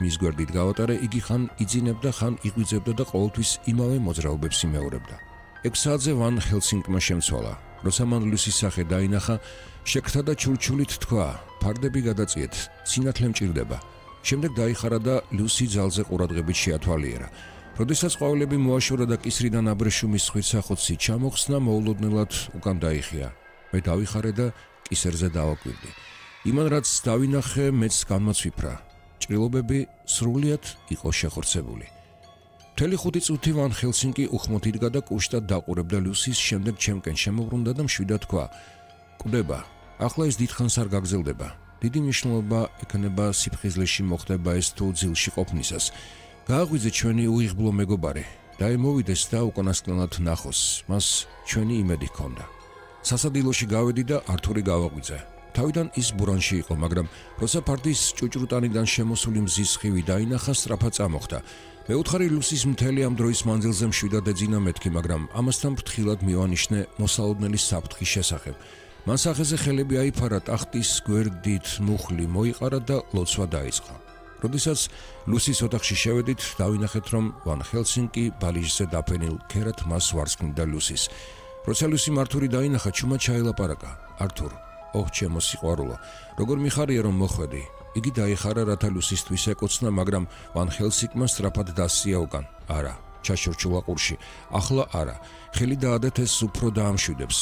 მის გვერდით გავატარე, იგი ხან იძინებდა, ხან იღვიძებდა და ყოველთვის იმავე მოძრაობებს იმეორებდა. 6 საათზე ვან ჰელსინკმა შემცვალა. როცა მან ლუსის სახე დაინახა, შეკრთა და ჩურჩულით თქვა: "ფარდები გადაწიეთ, სინათლე მჭირდება." შემდეგ დაიხარა და ლუსი ძალზე ყურადღებით შეათვალიერა. როდესაც ყვავილები მოაშორა და კისრიდან აბრეშუმის ხვირსახოცი ჩამოხსნა, მოულოდნელად უკან დაიხია. მე დავიხარე და კისერზე დავაკვირდი. იმან რაც დავინახე, მეც განმოცვიფრა. ჭრილობები სრულიად იყო შეხორცებული. მთელი 5 წუთი ვან ჰელსინკი უხმოდ იდგა და კუშტად დაყურებდა ლუსის, შემდეგ ჩემკენ შემოbrunდა და მშვიდად თქვა: "კვდება, ახლა ეს დიდხანს არ გაგრძელდება. დიდი მნიშვნელობა ექნება სიფხიზლეში მოხდება ეს თუ ძილში ყოფნისას. გააღვიძე ჩვენი უიღბლო მეგობარი და მოვიდეს და უკანასკნელად ნახოს, მას ჩვენი იმედი ჰქონდა." სასადილოში გავედი და ართური გავაღვიძე. თავიდან ის ბურანში იყო, მაგრამ როცა ფარდის ჭუჭრუტანიდან შემოსული მზის სხივი დაინახა, სწრაფად წამოხდა. მეუთხარი ლუსის მთელი ამ დროის მანძილზე მშვიდად ეძინა მეთქი, მაგრამ ამასთან ფრთხილად მივანიშნე მოსალოდნელი საფრთხის შესახებ. მან სახეზე ხელები აიფარა, ტახტის გვერდით მუხლი მოიყარა და ლოცვა დაიწყო. როდესაც ლუსის ოთახში შევედით, დავინახეთ, რომ ვან ჰელსინკი ბალიჟზე დაფენილ ქერად მას ვარსკვნიდა ლუსის. როცა ლუსი მართური დაინახა, ჩუმად ჩაელაპარაკა: "ართურ, ოჰ, ჩემო სიყვარულო, როგორ მიხარია რომ მოხვედი." იგი დაიხარა, რათა ლუსისთვის ეკოცნა, მაგრამ ვან ჰელსინკმა სწრაფად დასწია უკან. "არა, ჩაშორჩულა ყურში. ახლა არა. ხელი დაადეთ, ეს უფრო დაამშვიდებს."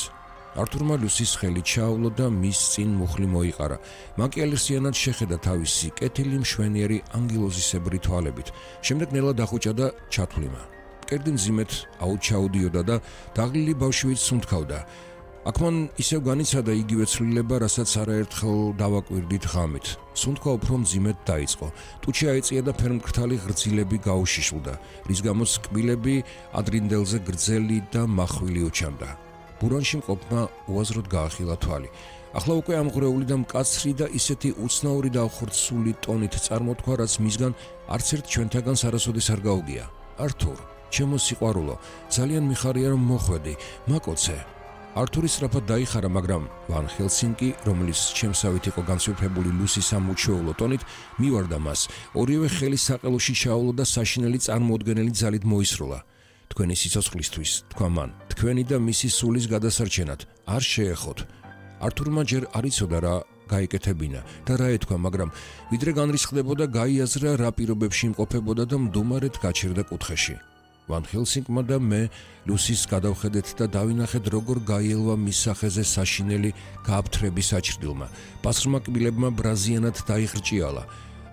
ართურმა ლუსის ხელი ჩაავლო და მის წინ მუხლი მოიყარა. მაკიალერსიანად შეხედა თავისი კეთილი მშვენიერი ანგელოზისებრი თვალებით. შემდეგ ნელა დახუჭა და ჩათვლიმა. მკერდი მძიმედ აუჩაუდიოდა და დაღლილი ბავშვით სუნთქავდა. აქ მან ისევ განიცადა იგივე ცვლილება, რასაც არაერთხელ დავაკვირდით ღამით. სუნთქვა უფრო მძიმედ დაიწყო. ტუჩი აიწია და ფერმკრთალი ღრძილები გაუშიშლდა, რის გამოც კბილები ადრინდელზე გრძელი და მახვილი უჩანდა. ბურანში მყოფმა უაზროდ გაახილა თვალი. ახლა უკვე ამღვრეული და მკაცრი და ისეთი უცნაური და ახორცული ტონით წარმოთქვა, რაც მისგან არც ერთ ჩვენთაგანს არასოდეს არ გაუგია. "ართურ, ჩემო სიყვარულო, ძალიან მიხარია რომ მოხვედი. მაკოცე." ართური სწრაფად დაიხარა, მაგრამ ვან ჰელსინკი, რომელიც ჩემსავით იყო განსვიფრებული ლუსის ამ უჩვეულო ტონით, მივარდა მას. ორივე ხელი საყელოში ჩაავლო და საშინელი წარმოუდგენელი ძალით მოისროლა. "თქვენი სიცოცხლისთვის," თქვა მან, "თქვენი და მისი სულის გადასარჩენად, არ შეეხოთ." ართურმა ჯერ არ იცოდა რა გაიკეთებინა და რა ეთქვა, მაგრამ ვიდრე განრისხდებოდა, გაიაზრა რა პირობებში იმყოფებოდა და მდუმარედ გაჩერდა კუთხეში. ვან ჰელსინკმა და მე ლუსის გადავხედეთ და დავინახეთ, როგორ გაიელვა მის სახეზე საშინელი გააფთრების საჭრდილმა. პასრმა კბილებმა ბრაზიანად დაიხრჭიალა.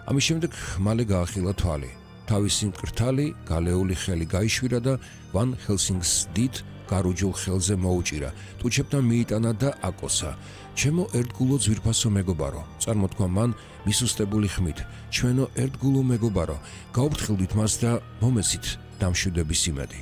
ამის შემდეგ მალე გაახილა თვალი. თავისი მკრთალი, გალეული ხელი გაიშვირა და ვან ჰელსინკს დიდ გარუჯულ ხელზე მოუჭირა. ტუჩებთან მიიტანა და აკოსა. "ჩემო ერთგულო ძვირფასო მეგობარო," წარმოთქვა მან მისუსტებული ხმით. "ჩვენო ერთგულო მეგობარო, გაუფრთხილდით მას და მომეცით დამშვიდების იმედი."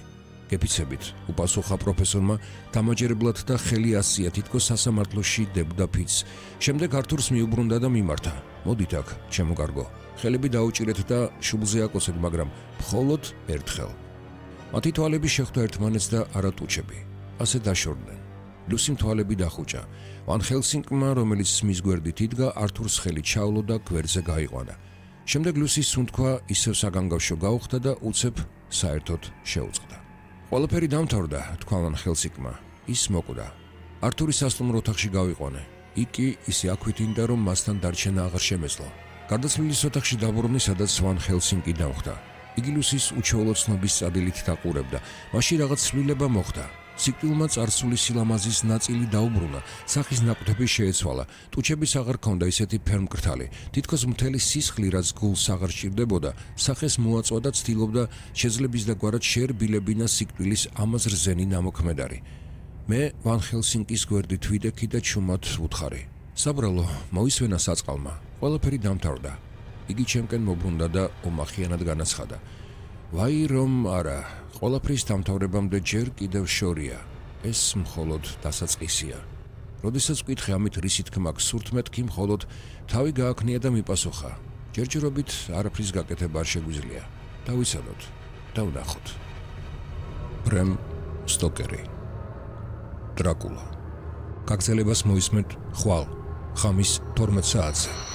"გეფიცებით," უპასუხა პროფესორმა დამაჯერებლად და ხელი ასია, თითქოს სასამართლოში დებდა ფიცს. შემდეგ ართურს მიუბრუნდა და მიმართა. "მოდით აქ, ჩემო კარგო. ხელები დაუჭირეთ და შუბლზე აკოცეთ, მაგრამ მხოლოდ ერთხელ." მათი თვალები შეხვდა ერთმანეთს და არა ტუჩები. ასე დაშორდნენ. ლუსიმ თვალები დახუჭა. ვან ჰელსინკმა, რომელიც მის გვერდით იდგა, ართურს ხელი ჩაავლო და გვერდზე გაიყვანა. შემდეგ ლუსის სუნთქვა ისევ საგანგავშო გაუხდა და უცებ საერთოდ შეუწყდა. "ყველაფერი დამთავრდა," თქვა ვან ჰელსინკმა. ის მოკვდა. ართურის სასტუმრო ოთახში გავიყვანე. იქ კი ისე აქვითინდა, რომ მასთან დარჩენა აღარ შემეძლო. გარდაცვლილის ოთახში დაბრუნდი, სადაც ვან ჰელსინკი დამხვდა. იგი ლუსის უჩვეულო ცნობის წადილით დაყურებდა. მაშინ რაღაც ცვლილება მოხდა. სიკვდილმა წარსული სილამაზის ნაწილი დაუბრუნა, სახის ნაკვთები შეეცვალა. ტუჩების აღარ ჰქონდა ისეთი ფერმკრთალი. თითქოს მთელი სისხლი, რაც გულს აღარ სჭირდებოდა, სახეს მოაწვა და ცდილობდა შეძლების და გვარად შეერბილებინა სიკვდილის ამას რძენი ნამოქმედარი. მე ვან ჰელსინკის გვერდით ვიდექი და ჩუმად ვუთხარი. "საბრალო, მოისვენა საწყალმა. ყველაფერი დამთავრდა." იგი ჩემკენ მოbrunდა და ომახიანად განაცხადა. "ვაი რომ არა, ყველაფრის დამთავრებამდე ჯერ კიდევ შორია. ეს მხოლოდ დასაწყისია." როდესაც ვკითხე ამით რისი თქმა გსურთ, მეთქი მხოლოდ თავი გააქნია და მიპასუხა: "ჯერჯერობით არაფრის გაკეთება არ შეგვიძლია. დავიცადოთ და ვნახოთ." ბრემ სტოკერი. დრაკულა. გაგრძელებას მოისმენთ ხვალ, ხამის 12 საათზე.